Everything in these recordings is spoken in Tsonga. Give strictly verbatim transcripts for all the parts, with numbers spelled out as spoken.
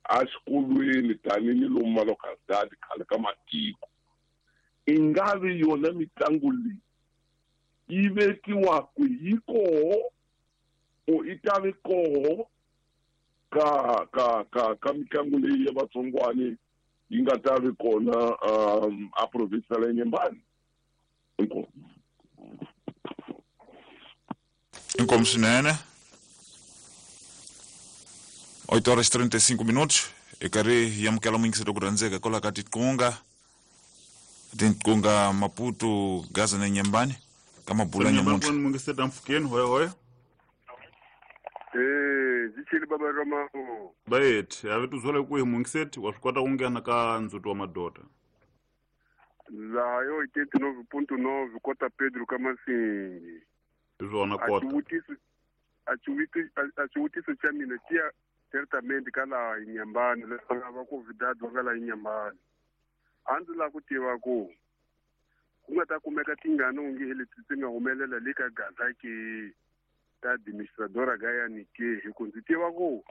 a xikolweni tanihi lomu malocalidade khale ka matiko i nga vi yona mitlangu leyi yi vekiwaku yi koho o i ta vi koho ka ka ka ka mitlangu leyi ya vatsongwani yi nga ta vi kona um a province ya Nyembani. Inkomu. Inkomu swinene. oito horas e trinta e cinco minutos. E karhi hi amukela muyingiseri ku rhandzeka kwalaho ka Tiqunga Tiqunga Maputo Gaza na Nyembani ka mabula nyamuntlha. Muyingiseri mpfukeni hoya hoya. Eh, zichili baba Rama. Bayet, ave tuzole kuhi muyingiseri wa swi kota ku nghena ka ndzhuti wa madoda. Laha yo oitenta e nove ponto nove Kota Pedro Kamasingi. Izona kota. A xivutiso xa mina xiya certamente ka laha Nyembani leswi nga va convidado va nga laha Nyembani. A ndzi lava ku tiva ku ku nga ta kumeka tingana onge leti ti nga humelela le ka Gaza ke ta administradora Gayani ke hi ku ndzi tiva ku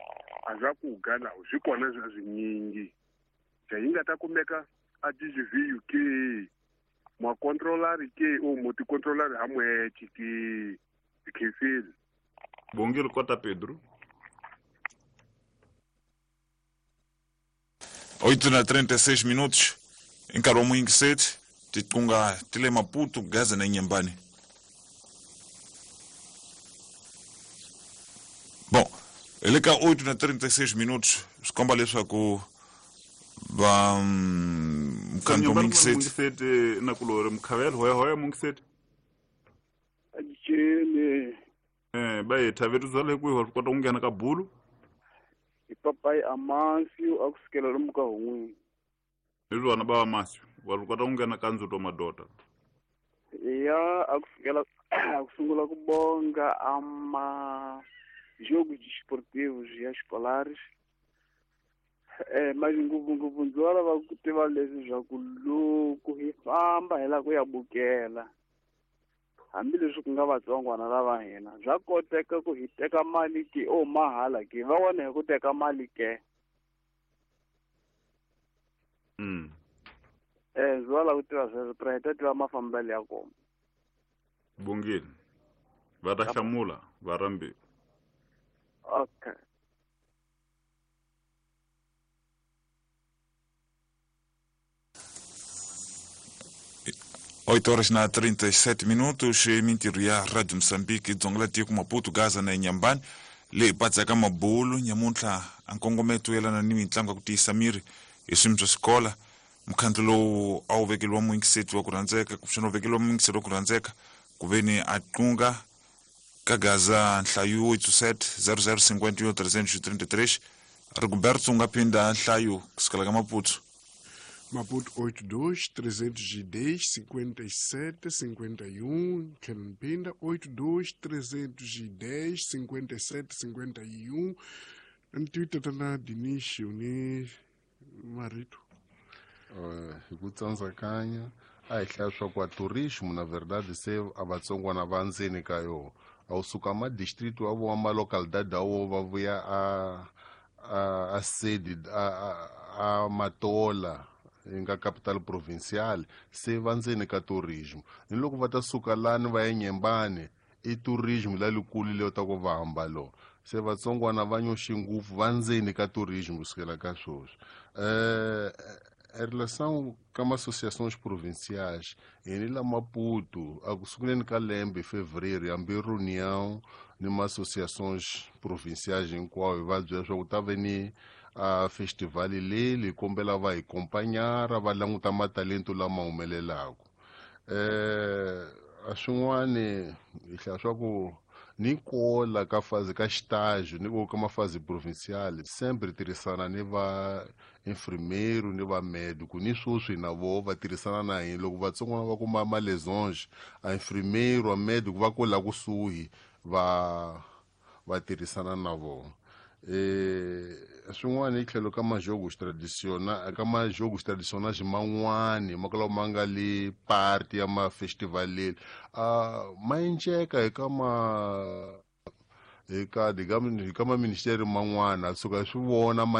a swa ku ga laha swi kona swa swinyingi. Se yi nga ta kumeka a D G V U ke ma controller ke o mo ti controller ha mwethe ke khefile. Bongile Kota Pedro. oito na trinta e seis minutos em nkarhi wa muyingiseri Tiqunga ti le Maputo Gaza na Nyembani. Bom, hi le ka oito na trinta e seis minutos swi komba leswaku va mukhandlu wa muyingiseri na kulori mukhavelo hoya hoya muyingiseri. Ajele. Eh, bayetha vethu zale kwihi wa swi kota ku nghena ka bulu. Hi papai Amasio a ku sukela lomu ka hun'wini. Hi swona ba Amasio wa swi kota ku nghena ka ndzhuti wa madoda. Ya a ku sukela a ku sungula ku bonga ama jogos desportivos e escolares. Eh, mas ngopfungopfu ndzi va lava ku tiva leswi swa ku loko hi famba hi lava ku ya bukela hambileswi ku nga vatsongwana lava hina bya koteka ku hi teka mali ke o mahala ke va vona hi ku teka mali ke. Mm. Eh, ndzi va lava ku tiva sweswo pra hi ta tiva mafambelo ya kona. Bongile va ta hlamula va rhambiwa. Okay. oito horas na trinta e sete minutos, mintirho ya Rádio Moçambique, dzonga la tiko Maputo, Gaza na Inhambane, leyi patsaka mabulu nyamuntlha a nkongometo yelana ni mitlangu ya ku tiyisa miri hi swimi swa xikola. Mukhandlu lowu a wu vekeliwa muyingiseti wa ku rhandzeka kumbexana wu vekeliwa muyingiseti wa ku rhandzeka ku veni a qunga ka Gaza nhlayo oito sete zero zero cinquenta e um trezentos e trinta e três. Rigoberto nga phinda nhlayo kusukela ka Maputo. Maputo oito dois, trezentos e dez, cinquenta e sete, cinquenta e um, Mpinda oito dois, trezentos e dez, cinquenta e sete, cinquenta e um. Twitter tana Dinish ni Marito. Hi ku tsandzakanya a hi hlaya swa ku a tourismo na verdade se a vatsongwana va ndzeni ka yona a wu suka ma district wa vo ma localidade a wo va vuya a a a sede a a Matola yi nga capital provincial se va ndzeni ka tourism ni loko va ta suka lani va ya Nyembani i tourism la likulu leyo ta ku va hamba lo se vatsongwana va nyoxi ngopfu va ndzeni ka tourism kusukela ka sweswi. Eh, em relação com as associações provinciais, em la Maputo, a sunguleni ka lembe fevereiro, hambi reunião ni ma associações provinciais hinkwayo va byela leswaku ta ve ni a festival leyi kombela va hi acompanhar va languta matalento lama humelelaka. Eh, a swin'wani hi hlaya swa ku ni kola ka fazi ka estágio ni ka mafazi provincial sempre tirhisana ni va enfermeiro ni va médico ni sweswi na voho va tirhisana na hina loko vatsongwana va kuma ma lesões a enfermeiro a médico va kola kusuhi va va tirhisana na vona. Eh, swin'wana hi tlhelo ka majogos tradicionais ka majogos tradicionais man'wani ma kala ma nga le party ya ma festival leri a ma enceka hi ka ma hi ka hi ka ma ministeri man'wana suka swi vona.